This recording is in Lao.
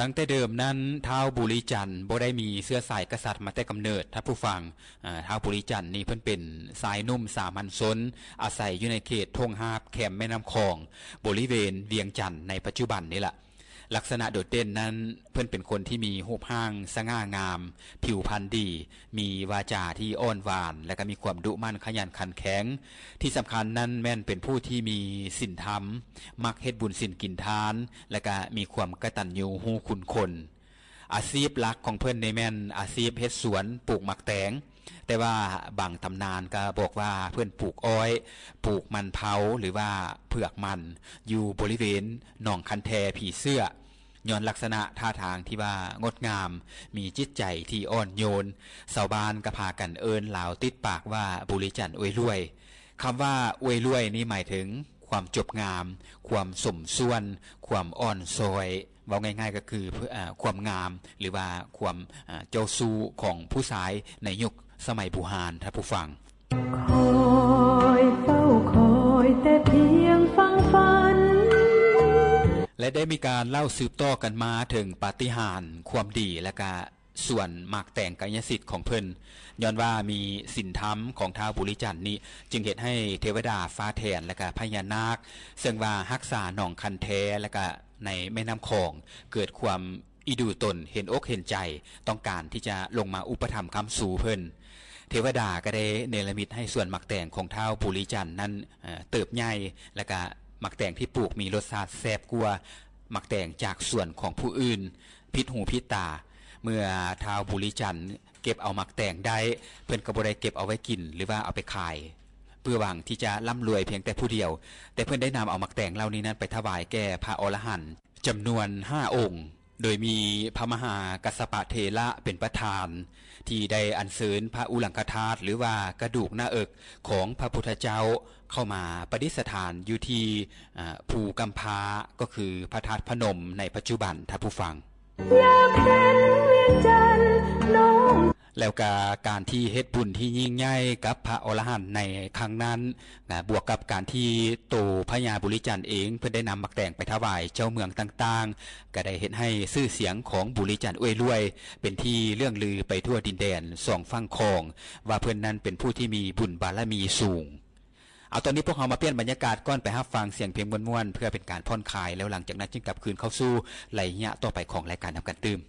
ຕັ້ງແຕ່ເດີມນັ້ນ ທ້າວບູລີຈັນບໍ່ໄດ້ມີເຊື້ອສາຍກະສັດມາແຕ່ກຳເນີດ ທ່ານຜູ້ຟັງ. ອາ ທ້າວບູລີຈັນນີ້ເພິ່ນເປັນຊາຍໜຸ່ມສາມັນຊົນ ອາໄສຢູ່ໃນເຂດທົ່ງຮາບແຄມແມ່ນ້ຳຂອງ ບໍລິເວນວຽງຈັນໃນປັດຈຸບັນນີ້ລະ. ລັກສະນະໂດດເດັ່ນນັ້ນ ເພິ່ນເປັນຄົນທີ່ມີຮູບຮ່າງສະຫງ່າງາມ, ຜິວພັນດີ, ມີວາຈາທີ່ອ່ອນຫວານ ແລະ ກໍມີຄວາມດຸໝັ່ນຂະຫຍັນຂັນແຂງ. ທີ່ສຳຄັນນັ້ນແມ່ນເປັນຜູ້ທີ່ມີສິນທຳ, ມັກເຮັດບຸນສິນກິນທານ ແລະ ກະມີຄວາມກະຕັນຍູຮູ້ຄຸນຄົນ. ອາຊີບຫຼັກຂອງເພິ່ນນີ້ແມ່ນອາຊີບເຮັດສວນປູກໝາກແຕງ, ແຕ່ວ່າບາງຕຳນານກະບອກວ່າເພິ່ນປູກອ້ອຍ, ປູກມັນເຜົາ ຫຼືວ່າເຜືອກມັນ ຢູ່ບໍລິເວນໜອງຄັນແທຜີເສື້ອ. ຍ້ອນລັກສະນະທ່າທາງທີ່ວ່າງົດງາມ, ມີຈິດໃຈທີ່ອ່ອນໂຍນ, ຊາວບ້ານກໍພາກັນເອີ້ນລາວຕິດປາກວ່າ ບູລີຈັນອວຍລວຍ. ຄຳວ່າອວຍລວຍນີ້ໝາຍເຖິງຄວາມຈົບງາມ, ຄວາມສົມສ່ວນ, ຄວາມອ່ອນຊ້ອຍ, ເວົ້າງ່າຍໆກໍຄື ເອີ ຄວາມງາມ ຫຼືວ່າຄວາມ ເອີ ເຈົ້າຊູ້ຂອງຜູ້ຊາຍໃນຍຸກສະໄໝບູຮານ ທ່ານຜູ້ຟັງ. ຄອຍເຝົ້າຄອຍແຕ່ພຽງຟັງຝັນ ແລະ ໄດ້ມີການເລົ່າສືບຕໍ່ກັນມາເຖິງປາຕິຫານ, ຄວາມດີ ແລະ ກະສວນໝາກແຕງກາຍະສິດຂອງເພິ່ນ. ຍ້ອນວ່າມີສິນທຳຂອງທ້າວບູລີຈັນນີ້ ຈຶ່ງເຮັດໃຫ້ເທວະດາຟ້າແຖນ ແລະ ກະພະຍານາກ ເຊິ່ງວ່າຮັກສາໜອງຄັນແທ ແລະ ກະໃນແມ່ນ້ຳຂອງ ເກີດຄວາມ ອີດູຕົນເຫັນອົກເຫັນໃຈ ຕ້ອງການທີ່ຈະລົງມາອຸປະຖຳຄ້ຳຊູເພິ່ນ. ເທວະດາກໍໄດ້ເນລະມິດໃຫ້ສວນໝາກແຕງຂອງທ້າວບູລີຈັນນັ້ນ ເອີ ເຕີບໃຫຍ່ ແລະກະໝາກແຕງທີ່ປູກມີລົດຊາດແຊບກວ່າໝາກແຕງຈາກສວນຂອງຜູ້ອື່ນ ຜິດຫູຜິດຕາ. ເມື່ອທ້າວບູລີຈັນເກັບເອົາໝາກແຕງໄດ້ ເພິ່ນກໍບໍ່ໄດ້ເກັບເອົາໄວ້ກິນ ຫຼືວ່າເອົາໄປຂາຍ ເພື່ອຫວັງທີ່ຈະລ່ຳລວຍພຽງແຕ່ຜູ້ດຽວ, ແຕ່ເພິ່ນໄດ້ນຳເອົາໝາກແຕງເຫຼົ່ານີ້ນັ້ນໄປຖວາຍແກ່ພະອໍລະຫັນ ຈຳນວນຫ້າອົງ ໂດຍມີພະມະຫາກັດສະປະເຖລະເປັນປະທານ ທີ່ໄດ້ອັນເຊີນພະອຸລັງຄະທາດ ຫຼືວ່າກະດູກໜ້າເອິກຂອງພະພຸດທະເຈົ້າ ເຂົ້າມາປະດິດສະຖານຢູ່ທີ່ ອາ ພູກຳພ້າ ກໍຄືພະທາດພະນົມໃນປັດຈຸບັນ ທ່ານຜູ້ຟັງ. ຢາກເຫັນວຽງຈັນນ້ອງ ແລ້ວກະການທີ່ເຮັດບຸນທີ່ຍິ່ງໃຫຍ່ກັບພະອໍລະຫັນໃນຄັ້ງນັ້ນ ນະ ບວກກັບການທີ່ໂຕພະຍາບູລີຈັນເອງ ເພິ່ນໄດ້ນຳໝາກແຕງໄປຖວາຍເຈົ້າເມືອງຕ່າງໆ ກໍໄດ້ເຮັດໃຫ້ຊື່ສຽງຂອງບູລີຈັນອວຍລວຍ ເປັນທີ່ເລື່ອງລືໄປທົ່ວດິນແດນສອງຝັ່ງຂອງ ວ່າເພິ່ນນັ້ນເປັນຜູ້ທີ່ມີບຸນບາລະມີສູງ. ເອົາ ຕອນນີ້ພວກເຮົາມາປ່ຽນບັນຍາກາດກ່ອນ ໄປຮັບຟັງສຽງເພງມ່ວນໆ ເພື່ອເປັນການຜ່ອນຄາຍ ແລ້ວຫຼັງຈາກນັ້ນຈຶ່ງກັບຄືນເຂົ້າສູ່ໄລຍະຕໍ່ໄປຂອງລາຍການນຳກັນຕື່ມ.